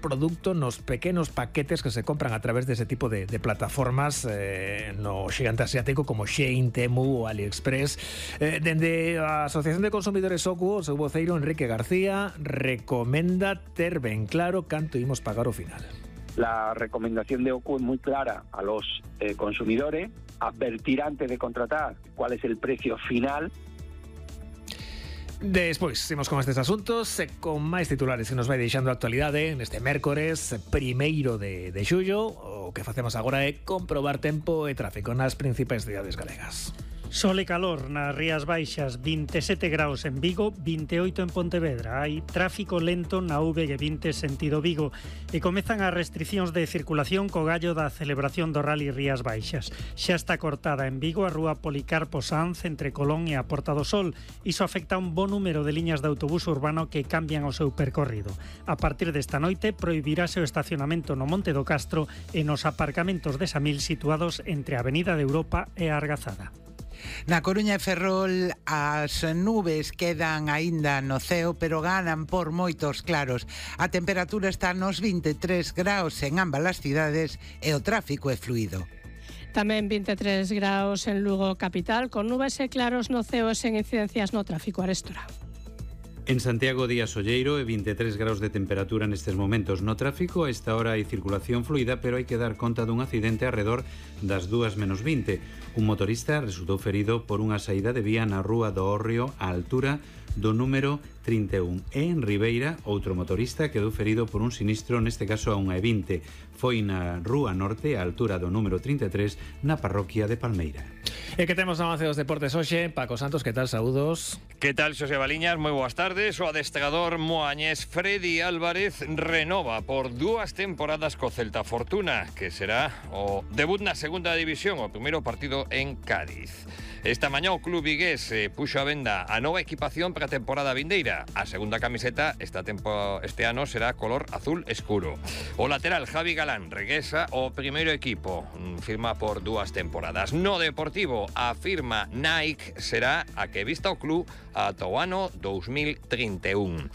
produto nos pequenos paquetes que se compran a través dese tipo de plataformas no xigante asiático como Shein, Temu ou AliExpress. Dende a Asociación de Consumidores OCU, o seu voceiro Enrique García recomenda ter ben claro canto imos pagar ao final. La recomendación de OCU es muy clara a los consumidores, advertir antes de contratar cuál es el precio final. Despois, seguimos con estes asuntos con máis titulares que nos vai deixando a actualidade neste mércores 1º de xullo. O que facemos agora é comprobar tempo e tráfico nas principais cidades galegas. Sol e calor nas Rías Baixas, 27 graus en Vigo, 28 en Pontevedra. Hai tráfico lento na V20 sentido Vigo e comezan as restriccións de circulación co gallo da celebración do Rally Rías Baixas. Xa está cortada en Vigo a rúa Policarpo Sanz entre Colón e a Porta do Sol. Iso afecta a un bo número de liñas de autobús urbano que cambian o seu percorrido. A partir desta noite prohibirase o estacionamento no Monte do Castro e nos aparcamentos de Samil situados entre a Avenida de Europa e a Argazada. Na Coruña e Ferrol as nubes quedan aínda no ceo, pero ganan por moitos claros. A temperatura está nos 23 graus en ambas as cidades e o tráfico é fluido. Tamén 23 graus en Lugo capital, con nubes e claros no ceo e sen incidencias no tráfico arestora. En Santiago día solleiro e 23 graus de temperatura nestes momentos. No tráfico a esta hora hai circulación fluida, pero hai que dar conta dun accidente arredor das 2:20. Un motorista resultou ferido por unha saída de vía na rúa do Hórreo á altura do número 31. E en Ribeira, outro motorista quedou ferido por un sinistro, neste caso a 1:20. Foi na rúa norte á altura do número 33 na parroquia de Palmeira. E que temos no avance dos deportes hoxe. Paco Santos, que tal? Saúdos. Que tal, Xosé Baliñas? Moi boas tardes. O adestrador moañés Freddy Álvarez renova por 2 temporadas co Celta Fortuna, que será o debut na segunda división, o primeiro partido en Cádiz. Esta mañá o club vigués puxo a venda a nova equipación para a temporada vindeira. A segunda camiseta este ano será color azul escuro. O lateral Javi Galán regresa ao primeiro equipo, firma por 2 temporadas. No Deportivo, a firma Nike será a que vista o club ata o ano 2031.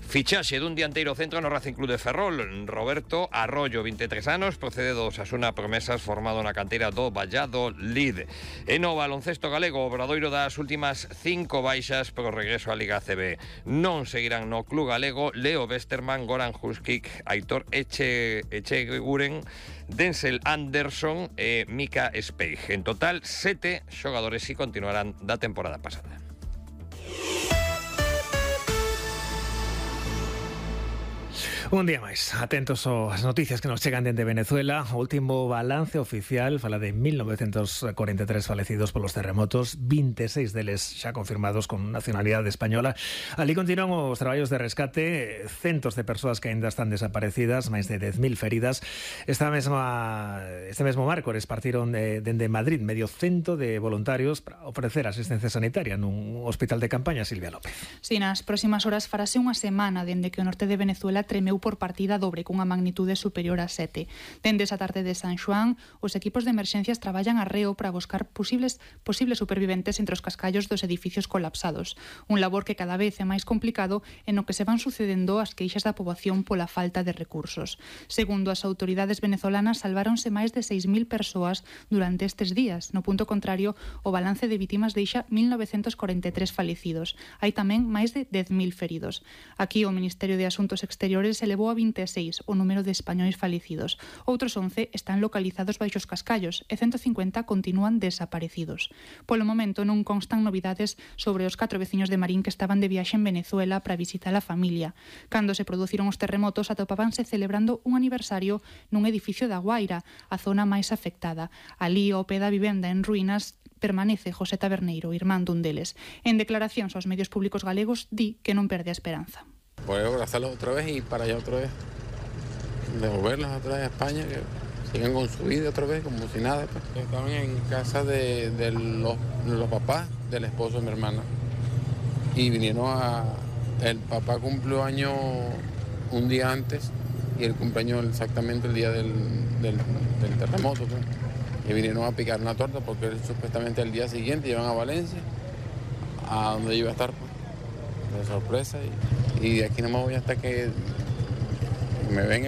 Fichaxe dun dianteiro centro no Racing Club de Ferrol. Roberto Arroyo, 23 anos, procede do Osasuna Promesas, formado na canteira do Valladolid. E no baloncesto galego, o obradoiro das últimas 5 baixas pro regreso á Liga ACB. Non seguirán no club galego Leo Westerman, Goran Huskic, Aitor Echeguren, Denzel Anderson e Mika Speig. En total, 7 xogadores si continuarán da temporada pasada. Un día máis, atentos ás noticias que nos chegan dende Venezuela. O último balance oficial fala de 1943 falecidos polos terremotos, 26 deles xa confirmados con nacionalidade española. Ali continúan os traballos de rescate, centos de persoas que aínda están desaparecidas, máis de 10.000 feridas. Este mesmo márcores partiron dende Madrid medio cento de voluntarios para ofrecer asistencia sanitaria nun hospital de campaña. Silvia López. Si, nas próximas horas farase unha semana dende que o norte de Venezuela tremeu por partida dobre cunha magnitude superior a 7. Dende esa tarde de San Xoán, os equipos de emerxencias traballan arreo para buscar posibles superviventes entre os cascallos dos edificios colapsados. Un labor que cada vez é máis complicado e no que se van sucedendo as queixas da poboación pola falta de recursos. Segundo as autoridades venezolanas, salváronse máis de 6.000 persoas durante estes días. No punto contrario, o balance de vítimas deixa 1943 falecidos. Hai tamén máis de 10.000 feridos. Aquí o Ministerio de Asuntos Exteriores elevou a 26 o número de españois falecidos. Outros 11 están localizados baixo os cascallos e 150 continúan desaparecidos. Polo momento non constan novidades sobre os 4 veciños de Marín que estaban de viaxe en Venezuela para visitar a familia. Cando se produciron os terremotos atopábanse celebrando un aniversario nun edificio da Guaira, a zona máis afectada. Ali, ao pé da vivenda en ruínas, permanece José Taberneiro, irmán dun deles. En declaracións aos medios públicos galegos, di que non perde a esperanza. Poder abrazarlos otra vez y para allá otra vez, devolverlos otra vez a España, que sigan con su vida otra vez, como si nada. Pues. Estaban en casa de los papás del esposo de mi hermana y vinieron el papá cumplió año un día antes y el cumpleaños exactamente el día del terremoto. Pues. Y vinieron a picar una torta porque él, supuestamente el día siguiente iban a Valencia, a donde iba a estar, pues, de sorpresa. Y de aquí no me voy hasta que me vengan.